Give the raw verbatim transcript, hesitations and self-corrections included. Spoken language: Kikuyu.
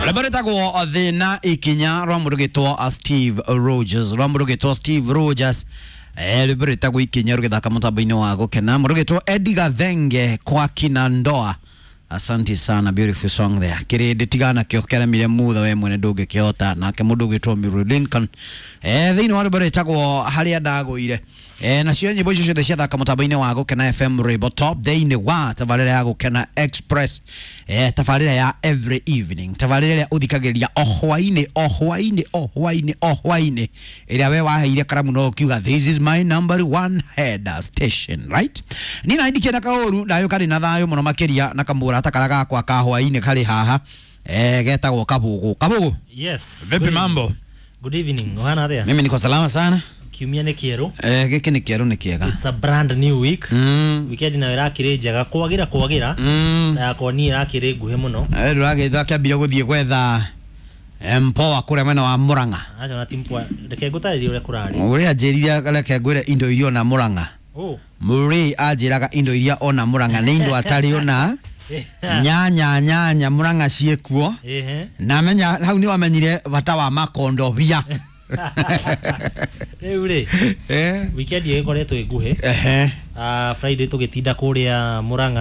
Rwĩmbo rwĩtagwo thĩna ikinya rwa mũndũ gĩtwo Steve Rogers, rwa mũndũ gĩtwo Steve Rogers. Eh, rwĩmbo rwĩtagwo ikinya rũgĩthaka mũtambo-inĩ wa gũkena. Mũndũ gĩtwo Eddie Gathenge kwa kina ndoa. Asante sana, beautiful song there. Kĩrĩndĩ tigana kĩo kĩaremire mutha we mwene ndũngĩkĩhota. Nake mũndũ ũgĩtwo Mary Lincoln, eh, thĩinĩ wa rwĩmbo rwĩtagwo harĩa ndagũire. Eh, nacio nyĩmbo icio ciothe ciathaka mũtambo-inĩ wa Gũkena F M Rwĩmbo Top thĩinĩ wa tabarĩra ya Gũkena Express, eh, tabarĩra ya every evening, tabarĩra ĩrĩa ũthikagĩrĩria o hwainĩ o hwainĩ o hwainĩ o hwainĩ, ĩrĩa we waheire karamu no ũkiuga this is my number one head station, right? Ni na ndikĩenda kaũru ndayũ karĩ na thayũ mũno makĩria na kamũrata karĩa gakwa ka hwainĩ karĩ haha, eh, getagwo Kabugu. Kabugu. Yes. Vipi Good mambo? evening. Good evening. Ũhana atĩa? Mimi niko salama sana. Kiumia nĩ kĩerũ. Eh, gĩkĩ nĩ kĩerũ nĩ kĩega. It's a brand new week. Mm. Weekend nayo ĩrakĩrĩ njega kwagĩra kwagĩra. Mm. Na yakwa niĩ ĩrakĩrĩ nguhĩ mũno. Eh, ndũragĩtha kĩambia gũthiĩ gwetha mpoa kũrĩa mwena wa Murang'a. Aca na ti mpoa. Reke ngũtarĩrie ũrĩa kũrarĩ. Ũrĩa anjĩrire reke ngwĩre indo iria ona Murang'a. Oh. Mũrĩ anjĩraga indo iria ona Murang'a nĩ indo atarĩ ona nyanya nyanya Murang'a ciĩkuo. Ehe. Na menya hau nĩ wamenyire bata wa makondobia. Rĩu rĩ, Eh. weekend ĩgĩkoretwo ĩ nguhĩ. Ehe. Ah, Friday tũgĩtinda kũrĩa Murang'a.